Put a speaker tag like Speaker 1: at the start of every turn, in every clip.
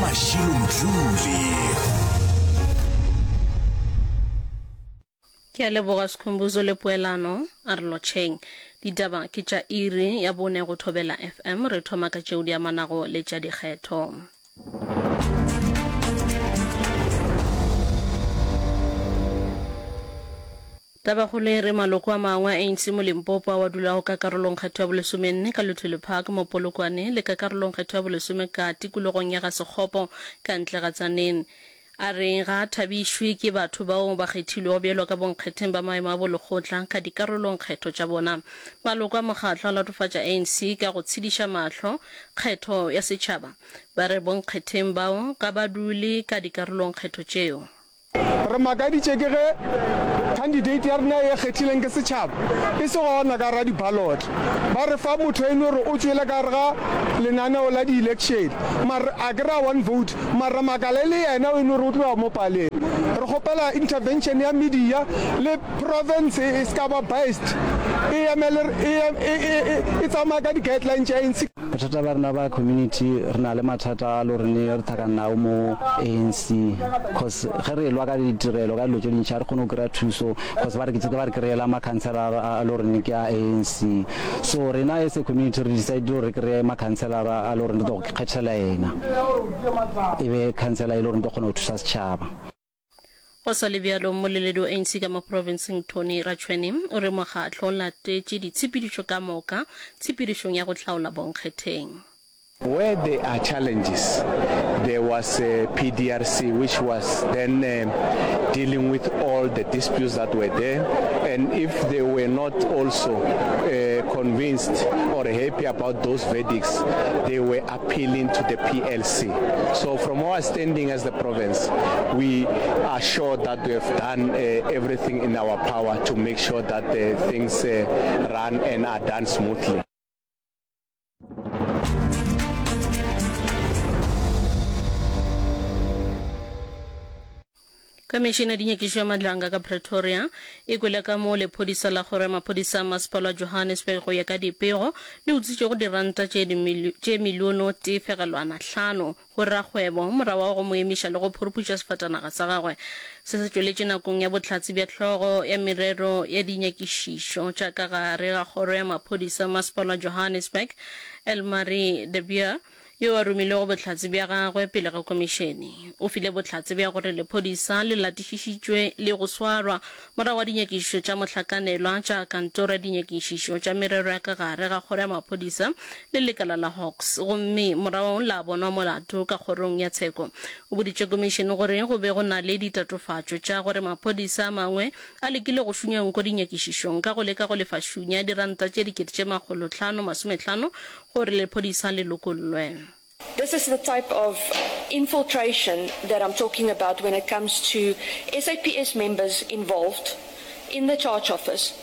Speaker 1: Mashilo Mdluli.
Speaker 2: Ke a leboga Skhumbuzo le Poelano, a re lotšheng. Ditaba ke tša iri ya bone go Thobela FM, re thoma ka tšeo di amanago le tša dikgetho. Tabakgolo e re maloko a mangwe a ANC mo Limpopo ao a dulago ka karolongkgetho ya bolesomenne ka Luthuli Park mo Polokwane le ka karolongkgetho ya bolesome ka tikologong ya Ga-Sekgopo ka ntle ga Tzaneen a re ga a thabišwe ke batho bao ba kgethilwego bjalo ka bonkgetheng ba maemo a bolekgotla ka dikarolongkgetho tša bona. Maloko a mokgatlo a latofatša ANC ka go tshediša mahlo kgetho ya setšhaba. Ba re bonkgetheng bao ga ba dule ka dikarolongkgetho tšeo.
Speaker 3: Re makaditše ke ge candidate ya rena ye kgethileng ke setšhaba e se gona ka gara di-ballot. Ba re fa motho e no re o tšwele ka gare ga lenaneo la di-election mare a kry-a one vote mara makala e le yena o e no re o tloga mo paleng. Re kgopela intervention ya media le province e se ka ba biased e emele e tsamaye ka di-guideline tša ANC.
Speaker 4: Bothata ba rena ba community re na le mathata a lo rene re thakana nao mo ANC cause ge re elwa ka ditirelo ka dilo tše dintši ga re kgone go kry-a thuso cause ba re ba re kry-ela makhanselara a lo rene ke a ANC so rena as a community re decide gore re kry-e makhanselara a lo rene re tlo go kgethela yena e be khansela e le gore re tlo kgona go thusa setšhaba.
Speaker 2: Go sa le bjalo, mmoleledi wa ANC ka mo profenseng Tony Rachoene o re mokgatlo o latetše ditshepedišo ka moka tshepedišong ya go hlaola bonkgetheng.
Speaker 5: Where there are challenges, there was a PDRC which was then dealing with all the disputes that were there and if they were not also convinced or happy about those verdicts, they were appealing to the PLC. So from our standing as the province, we are sure that we have done uh, everything in our power to make sure that the things uh, run and are done smoothly.
Speaker 2: Khomišene ya Dinyakišišo ya Madlanga ka Pretoria e kwele ka moo lephodisa la kgoro ya maphodisa a masepala wa Johannesburg go ya ka dipego le utswitšego diranta tše tše miliono tee fegelwana hlano go rakgwebo morago ga go mo emiša le go phuruputša sefatanaga sa gagwe. Se se tšweletše nakong ya bohlatse bja hlogo ya merero ya dinyakišišo tša ka gare ga kgoro ya maphodisa a masepala wa Johannesburg Elmarie de Beer yo a romilego bohlatse bja gagwe pele ga komišene, o file bohlatse bja gore lephodisa le latišišitšwe le go swarwa morago ga dinyakišišo tša mohlakanelwa tša Kantoro ya Dinyakišišo tša Merero ya ka Gare ga Kgoro ya Maphodisa le Lekala la Hawks gomme morago la bonwa molato ka kgorong ya tsheko. O boditše komišene gore go be go na le ditatofatšo tša gore maphodisa a mangwe a lekile go šunya nko dinyakišišong ka go leka go lefa šunya diranta tše 5,550 gore lephodisa le lokollwe.
Speaker 6: This is the type of infiltration that I'm talking about when it comes to SAPS members involved in the charge office,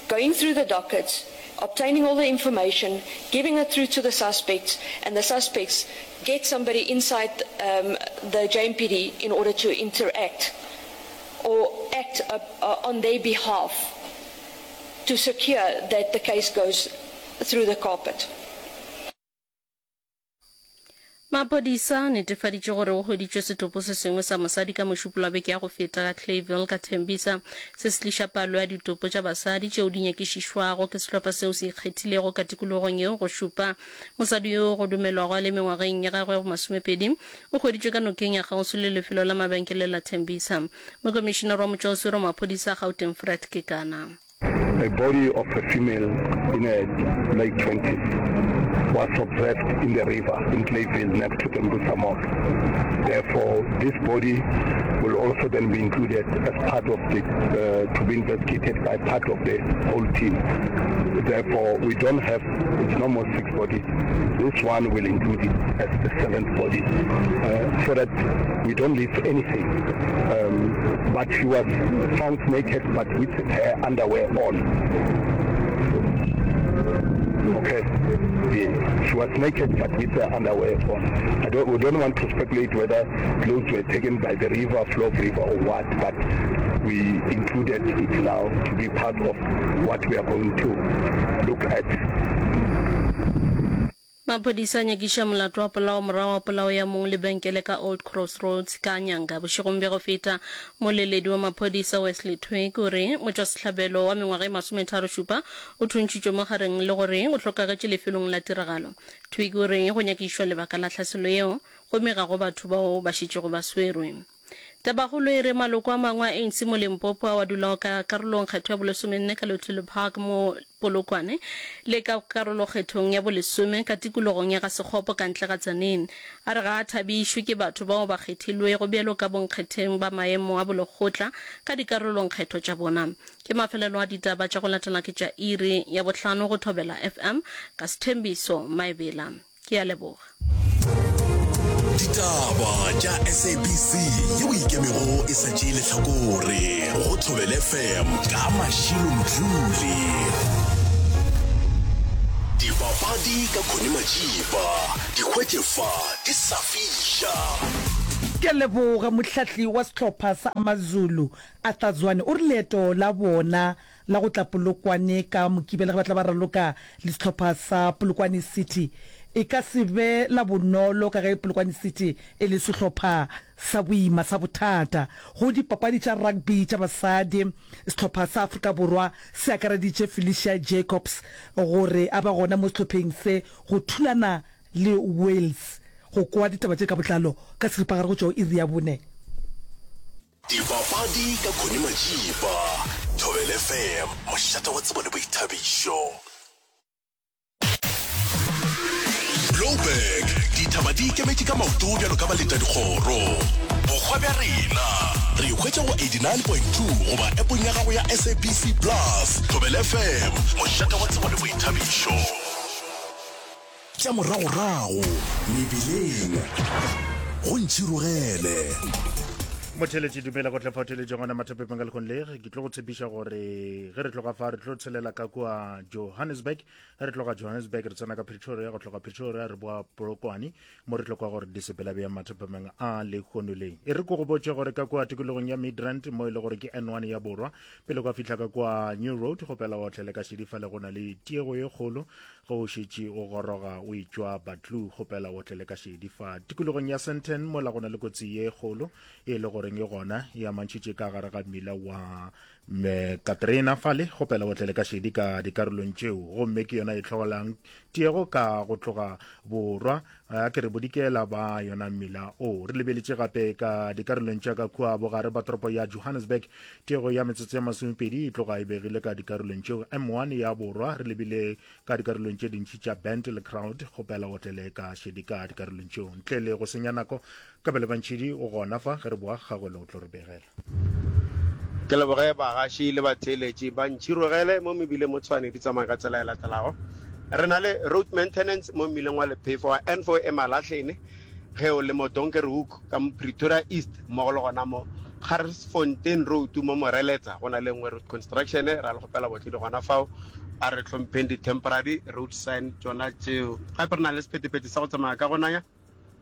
Speaker 6: going through the dockets, obtaining all the information, giving it through to the suspects, and the suspects get somebody inside um, the JMPD in order to interact or act uh, uh, on their behalf to secure that the case goes through the carpet.
Speaker 2: Maphodisa a netefaditše gore go hweditšwe setopo se sengwe sa mosadi ka Mošupologo wa beke ya go feta ka Clayville ka Tembisa. Se se tliša palo ya ditopo tša basadi tšeo di nyakišišwago ke sehlopha seo se ikgethilego ka tikologong yeo go šupa. Mosadi yoo go dumelwago a le mengwageng ya gagwe ya bomasomepedi o hweditšwe ka nokeng ya kgauswi le lefelo la mabenkele la Tembisa. Mokomišinare wa motšwaoswere wa maphodisa a Gauteng Fred Kekana.
Speaker 7: A body of a female in her late twenties was observed in the river in Clayville next to Tembisa Mall. Therefore, this body will also then be included as part of the, uh, to be investigated by part of the whole team. Therefore, we don't have, it's no more six bodies. This one will include it as the seventh body, uh, so that we don't leave anything. Um, but she was found naked, but with her underwear on. Okay. Yeah. She was naked, but with her underwear on. I don't, we don't want to speculate whether clothes were taken by the river, flow of river or what, but we included it now to be part of what we are going to look at.
Speaker 2: Maphodisa a nyakiša molato wa polao morago ga polao ya mong lebenkele ka Old Crossroads ka Nyanga bošegong bja go feta. Moleledi wa maphodisa Wesley Twigg o re motšwasehlabelo wa mengwaga e masometharošupa o thuntšhitšwe mo gareng le gore o hlokagetše lefelong la tiragalo. Twigg o re go nyakišwa lebaka la tlhaselo yeo gomme ga go batho bao ba šetšego ba swerwe. Tabakgolo e re maloko a mangwe a ANC mo Limpopo ao a dulago ka karolong kgetho ya bolesomenne ka Luthuli Park mo Polokwane le ka karolokgethong ya bolesome ka tikologong ya Ga-Sekgopo ka ntle ga Tzaneen a re ga a thabišwe ke batho bao ba kgethilwego bjalo ka bonkgetheng ba maemo a bolekgotla ka dikarolongkgetho tša bona. Ke mafelelo a ditaba tša go latela ke tša iri ya bohlano go Thobela FM ka Sthembiso Maebela. Ke a leboga.
Speaker 1: Ditaba tša SABC yeo e ikemego e sa tšee lehlakore go Thobela FM ka Mashilo Mdluli. Dipapadi ka Connie Majiba, di hwetše fa di sa fiša.
Speaker 8: Ke a leboga. Mohlahli wa sehlopha sa AmaZulu, Arthur Zwane, o re leeto la bona la go tla Polokwane ka Mokibelo ge ba tla ba raloka le sehlopha sa Polokwane City e ka se be la bonolo ka ge Polokwane City e le sehlopha sa boima sa bothata go dipapadi tša rugby tša basadi. Sehlopha sa Afrika Borwa se akareditše Felicia Jacobs gore a be gona mo sehlopheng se go thulana le Wales. Go kwa ditaba tše ka botlalo ka seripagare go tšwa go iri ya bone.
Speaker 1: Dipapadi ka Connie Majiba, Thobela FM, mošate wa tsebo le boithabišo. Blouberg, dithaba di ikemetše ka maoto bjalo ka baletadikgoro. Bokgwa bja rena, re e hwetša go 89.2 goba appong ya gago ya SABC Plus. Thobela FM, mošate wa tsebo le boithabišo. Tša moragorago mebileng go ntšhirogele.
Speaker 9: Motheeletši dumela go tla fa theeletša ngwana mathapepeng ka lekgong le ke tlo go tshepiša gore ge re tloga fa re tlo tshelela ka kua Johannesburg ge re tloga Johannesburg re tsena ka Pretoria go tloga Pretoria re boa Polokwane mo re tlo kwa gore di sepela bjang mathapemeng a lekgono le e re ko go botše gore ka kua tikologong ya Midrand mo e le gore ke N1 ya borwa pele kwa fihla ka kua New Road go pela otlele ka šedifa le go na le tiego ye kgolo Ge o šetše o goroga o etšwa Buccleuch, kgopela o tle le ka šedi fa tikologong ya Sandton mola go na le kotsi ye kgolo e le goreng e gona e amantšhitše ka gare ga mmila wa Katrina fale. Kgopela o tle le ka šedi ka dikarolong tšeo, gomme ke yona e hlolang tiego ka go tloga borwa a ke re bodikela ba yona mmila o. Re lebeletše gape ka dikarolong tša ka kua bogare ba toropo ya Johannesburg, tiego ya metsotso ya masomepedi e tloga e begile ka dikarolong tšeo. M1 ya borwa re lebile ka dikarolong tše dintši tša Bend le Crowd, kgopela o tlele ka šedi ka dikarolong tšeo. Ntle le go senya nako, Kabelo Bantšhidi o gona fa ge re boa gagwe le o tlo re begela.
Speaker 10: Ke leboge bagaši le batheeletši ba Ntšhirogele mo mebileng mo Tshwane di tsamaya ka tsela e latelago. Re na le road maintenance mo mmileng wa Lephefo wa N4 e Malahlene ge o le mo Donkerhoek ka mo Pretoria East mmogo le gona mo Garsfontein Road mo Moreletsa go na le nngwe road construction ra le kgopela botledi gona fao a re hlompheng di-temporary road sign tšona tšeo. Gape re na le sephethephethe sa go tsamaya ka go nanya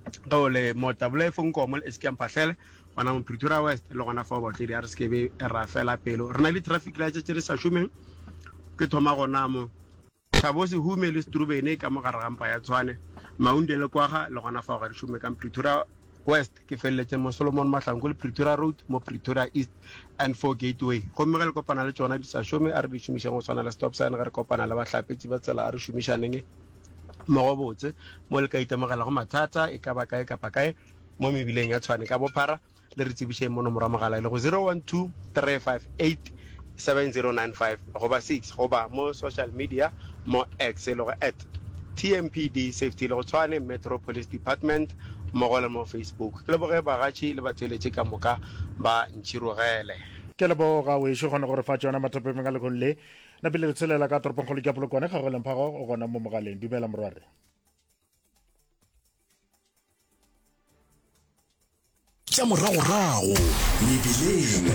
Speaker 10: Ge o le mo Tabulaefo Nkomo le Eskia Mphahlele, gona mo Pretoria West le gona fao baotledi a re se ke be ra fela pelo. Re na le traffic lights tše di sa šomeng, ke thoma gona mo Thabo Sehume le Strubene ka mo gare ga mpa ya Tshwane, Maunde le Kwaga le gona fao ga di šome ka Pretoria West. Ke feleletše mo Solomon Mahlangu le Pretoria Road mo Pretoria East N4 Gateway. Gomme ge le kopana le tšona di sa šome, a re di šomišeng go swana le stop sign ge re kopana le bahlapetši ba tsela, a re šomišaneng mmogo botse mo le ka itemogelago mathata e ka ba kae kapa kae mo mebileng ya Tshwane ka bophara le re tsebišeng mo nomoro ya mogala e lego 012 358 7095 goba 6 goba mo social media mo X e lego at TMPD Safety e lego Tshwane Metro Police Department mmogo le mo Facebook. Ke leboge bagatši le batheeletši ka moka ba ntšhirogele.
Speaker 9: Ke a leboga wešo kgona go re fa tšona mathapemeng a lekgong le. Napile re tshelela ka toropongkgolo ke Polokwane, Kgagelo Mphago o gona mo mogaleng. Dumela morwarre.
Speaker 1: Tša moragorago mebileng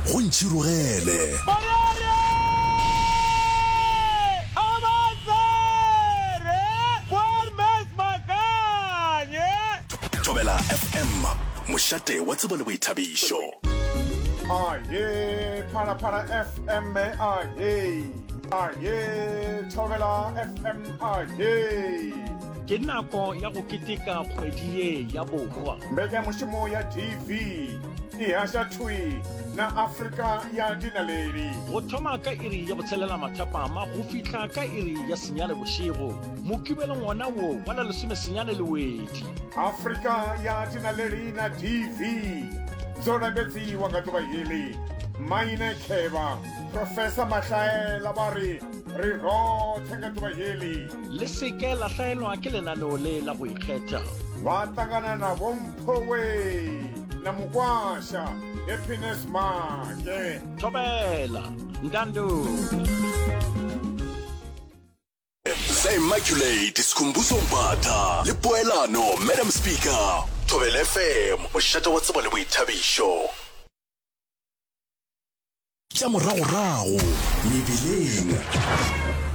Speaker 1: go ntšhirogele. Thobela FM, mošate wa tsebo le boithabišo.
Speaker 3: Aye, Phalaphala FM, aye. Aye, Thobela FM, aye.
Speaker 11: Ke nako ya go keteka kgwedi ye ya bohwa.
Speaker 3: Mbekanyamošomo ya DV e haša thwi na Afrika ya dinaledi.
Speaker 11: Go thoma ka iri ya botshelela mathapama go fihla ka iri ya senyane bošego, Mokibelong wona wo wa la lesomesenyane Lewedi.
Speaker 3: Afrika ya dinaledi na DV dzo lambedziwa nga ḓuvha heḽi. Maine Khevha. Professor Mahlaela ba re re roṱhe nga ḓuvha heḽi.
Speaker 11: Le se ke la hlaelwa ke lenaneo le la go ikgetha.
Speaker 3: Vha ṱangana na Vho Mphowe na Mukwasha Happiness Maake.
Speaker 11: Thobela, Ntando.
Speaker 1: The Immaculate Skhumbuzo Mbatha le Poelano Madam Speaker. Thobela FM, mošate wa tsebo le boithabišo. Tša moragorago mebileng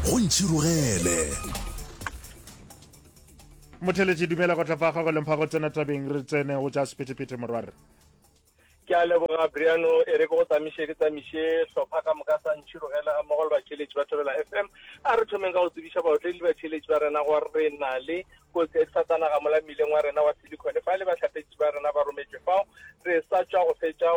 Speaker 1: go ntšhirogele.
Speaker 9: Motheletši dumela go tla fa gago le mpha go tsena tabeng re tsene go tša sephethephethe morwarre.
Speaker 12: Ke a leboga Briano, e re ke go tsamiše ke tsamiše hlopha ka moka sa ntšhirogele ga mmogo le batheeletši ba Thobela FM. A re thomeng ka go tsebiša baotledi le batheeletši ba rena gore re na le kotsi ya difatanaga mola mmileng wa rena wa Silicon fa le bahlapetši ba rena ba rometšwe fao. Re sa tšwa go fetša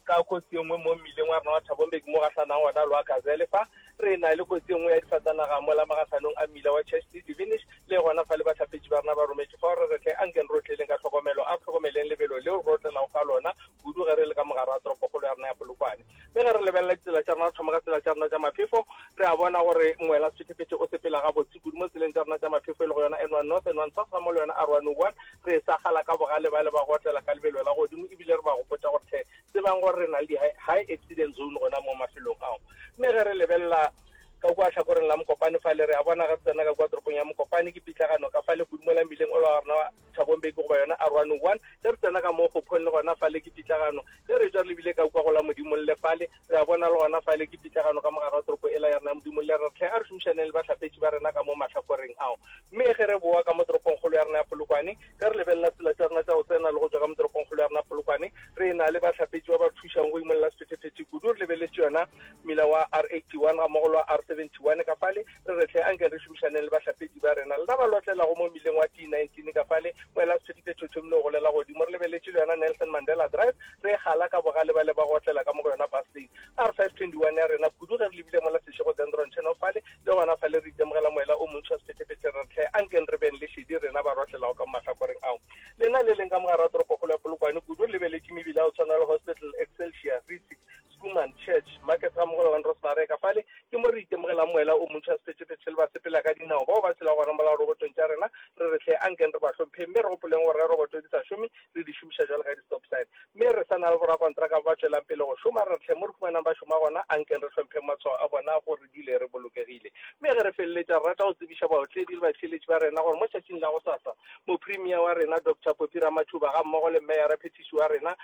Speaker 12: Ka kotsi e nngwe mo mmileng wa rena wa Thabombeki mo gahlanang gona le wa Gazelle fa, re na le kotsi e nngwe ya difatanaga mola magahlanong a mmila wa Church le Divinish, le gona fa le bahlapetši ba rena ba rometše fao re re hle anke re otleleng ka tlhokomelo, a re hlokomeleng lebelo leo re otlelago ka lona kudu ge re le ka mogare ga toropokgolo ya rena ya Polokwane. Mme ge re lebelela ditsela tša rena, re thoma ka tsela tša rena tša maphefo, re a bona gore moela sephethephethe o sepela gabotse kudu mo tseleng tša rena tša maphefo e lego yona N1 North, N1 South gammogo le yona R101. Re sa gala ka bogale bale ba go otlela ka lebelo la godimo ebile re ba gopotša gore hle tsebang gore re na le di-high accident zone gona mo mafelong ao. Mme ge re lebelela ka kua hlakoreng la Mokopane fale re a bona ge re tsena ka kua toropong ya Mokopane ke pitlagano ka fale kudu mola mmileng ola wa rena wa Thabo Mbeki goba yona R101. Ge re tsena ka mo Kgophong le gona fale ke pitlagano. Ge re tšwa re lebile ka kua go la Modimolle fale re a bona le gona fale ke pitlagano ka mogare wa toropo ela ya rena ya Modimolle. Re re hle a re šomišaneng le bahlapetši ba rena ka mo mahlakoreng ao. Mme ge re bowa ka mo toropongkgolo ya rena ya Polokwane, ge re lebelela tsela tša rena tša go tsena le go tšwa ka mo toropongkgolo ya rena Polokwane, re na le bahlapetši ba ba re thušang go imolla sephethephethe kudu. Re lebeletše yona mmila wa R81 gammogo le wa R71 ka fale. Re re hle anke re šomišaneng le bahlapetši ba rena. Lena ba lotlelago mo mmileng wa T19 ka fale, moela sephethephethe o thomile go golela godimo. Re lebeletše le yona Nelson Mandela Drive, re gala ka bogale bale ba go otlela ka mo go yona bus lane. R521 ya rena kudu ge re lebile mola Seshego Dendron Channel fale, Le gona fale re itemogela moela o montši wa sephethephethe, re re, Hle, ankeng re beng le šedi rena ba rohlelago ka mo mahlakoreng ao. Lena le leng ka mogare wa toropokgolo ya Polokwane kudu, re lebeletše mebila ya go tshwana le Hospital, Excelsior, Rissik, Schoeman, Church, Market gammogo le Van Rosmareka. Fale ke mo re itemogelang moela o montši wa sephethephethe le basepela ka dinao bao ba tshelago gona mola robotong tša rena. Re re, Hle, ankeng re ba hlompheng mme re gopoleng gore ge roboto di sa šome, re di šomiša bjalo ka di-stop sign. Mme re sa na le borakontraka ba ba tšwelang pele go šoma, re re, Hle, mo re humanang ba šoma gona, ankeng re hlompheng matshwao a bona gore re dule re bolokegile. Mme ge re feleletša, re rata go tsebiša baotledi le batheeletši ba rena gore mo tšatšing la gosasa, Mopremier wa rena Doctor Phophi Ramathuba gammogo le Meyara-phethiši wa rena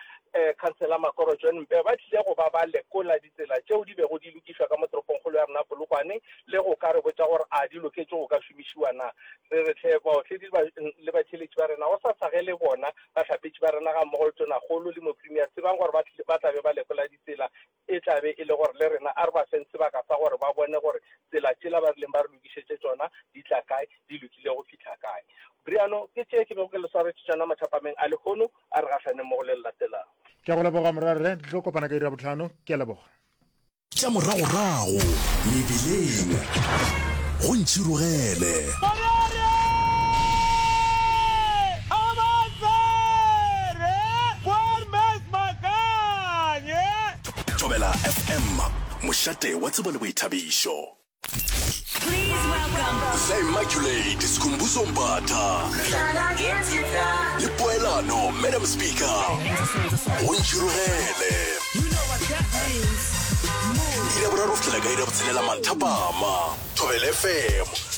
Speaker 12: Councillor Makoro John Mpe ba tlile go ba ba lekola ditsela tšeo di bego di lokišwa ka mo toropongkgolo ya rena Polokwane le go ka re botša gore a di loketše go ka šomišiwa na. Re re hle baotledi le batheeletši ba rena gosasa ge le bona bahlapetši ba rena gammogo le Tonakgolo le Mopremier tsebang gore ba tla be ba lekola ditsela e tla be e le gore le rena a re ba feng sebaka sa gore ba bone gore tsela tšela ba rileng ba re lokišetše tšona di tla kae, di lokile go fihla kae. Briano, ke tše ke bego ke le swaretše tšona mathapameng a lehono, a re gahlaneng mo go le le latelago.
Speaker 9: Ke a go leboga morwarre, re tlo kopana ka iri ya bohlano. Ke a leboga.
Speaker 1: Tša moragorago mebileng go ntšhirogele. Thobela FM, mošate wa tsebo le boithabišo. The Immaculate Skhumbuzo Mbatha le Poelano Madam Speaker go ntšhirogele. Iri ya boraro go fihlela ka iri ya botshelela manthapama. Thobela FM.